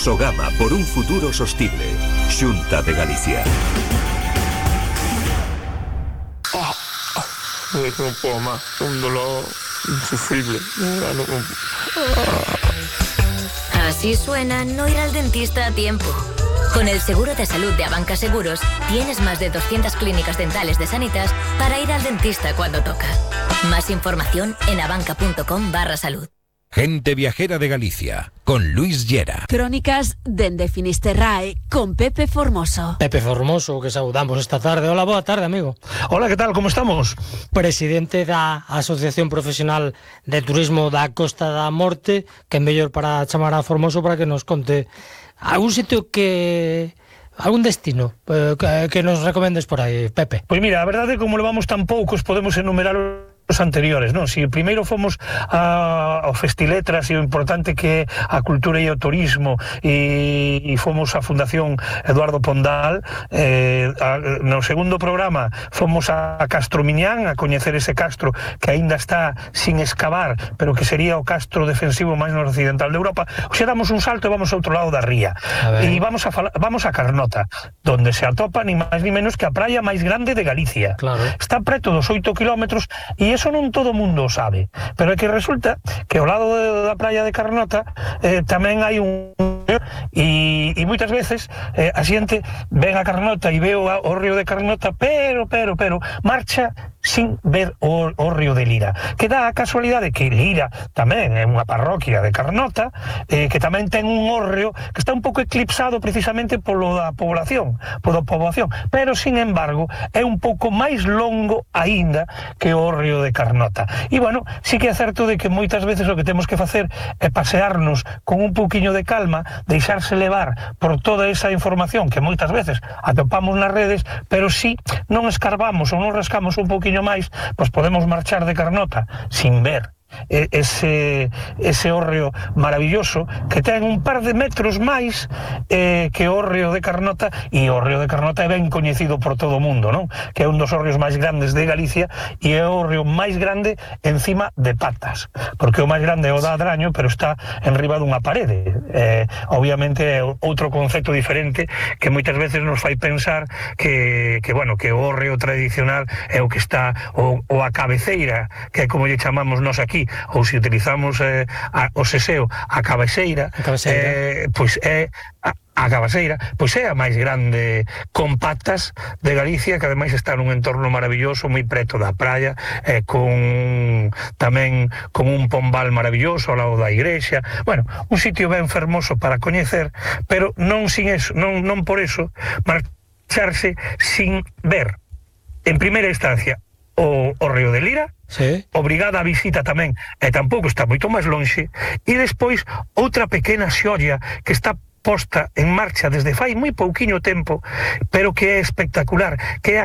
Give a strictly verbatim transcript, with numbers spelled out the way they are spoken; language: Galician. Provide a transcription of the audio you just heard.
Sogama por un futuro sostible. Xunta de Galicia. Oh, oh, no puedo más. Un dolor insufrible. No, no, no. Así suena no ir al dentista a tiempo. Con el seguro de salud de Abanca Seguros, tienes más de doscientas clínicas dentales de Sanitas para ir al dentista cuando toca. Más información en abanca.com barra salud. Gente Viajera de Galicia, con Luis Llera. Crónicas dende Finisterrae, con Pepe Formoso. Pepe Formoso, que saudamos esta tarde. Hola, boa tarde, amigo. Hola, ¿qué tal? ¿Cómo estamos? Presidente da Asociación Profesional de Turismo da Costa da Morte, que é mellor para chamar a Formoso para que nos conte algún sitio que... algún destino eh, que, que nos recomendes por aí, Pepe. Pois mira, a verdade, como levamos tan poucos, podemos enumerar os anteriores, non? Si primeiro fomos a, ao Festiletras e o importante que é a cultura e o turismo e, e fomos á Fundación Eduardo Pondal, eh, a, no segundo programa fomos a, a Castro Miñán a coñecer ese castro que aínda está sin excavar, pero que sería o castro defensivo máis noroccidental de Europa. Oxe, damos un salto e vamos ao outro lado da ría e vamos a, vamos a Carnota, donde se atopa ni máis ni menos que a praia máis grande de Galicia. Claro. Está preto dos oito kilómetros e eso non todo mundo o sabe, pero é que resulta que ao lado de, da praia de Carnota eh, tamén hai un e, e moitas veces eh, a xente ven a Carnota e ve o, o río de Carnota, pero, pero, pero marcha sin ver o, o río de Lira, que dá a casualidade que Lira tamén é unha parroquia de Carnota, eh, que tamén ten un hórreo que está un pouco eclipsado precisamente polo da población, pola poboación, pero sin embargo é un pouco máis longo aínda que o hórreo de Carnota. E bueno, sí que é certo de que moitas veces o que temos que facer é pasearnos con un pouquiño de calma, deixarse levar por toda esa información que moitas veces atopamos nas redes, pero si non escarbamos ou non rascamos un pouquiño máis, pois podemos marchar de Carnota sin ver ese ese hórreo maravilloso que ten un par de metros máis eh, que o hórreo de Carnota, e o hórreo de Carnota é ben coñecido por todo o mundo, non? Que é un dos hórreos máis grandes de Galicia e é o hórreo máis grande encima de patas, porque o máis grande é o da Adraño, pero está enriba dunha parede. Eh, obviamente é outro concepto diferente que moitas veces nos fai pensar que, que bueno, que o hórreo tradicional é o que está o, o a cabeceira, que é como lle chamamos nós aquí, ou se utilizamos eh, a, o seseo a cabeceira, a cabeceira. Eh, pois é a, a cabeceira, pois é a máis grande con patas de Galicia, que ademais está nun entorno maravilloso, moi preto da praia, eh, con tamén con un pombal maravilloso ao lado da igrexa. Bueno, un sitio ben fermoso para coñecer, pero non sin eso, non, non por eso marcharse sin ver en primeira instancia o, o río de Lira. Sí. Obrigada a visita tamén, e tampouco está moito máis lonxe, e despois outra pequena xolla que está posta en marcha desde fai moi pouquiño tempo, pero que é espectacular, que é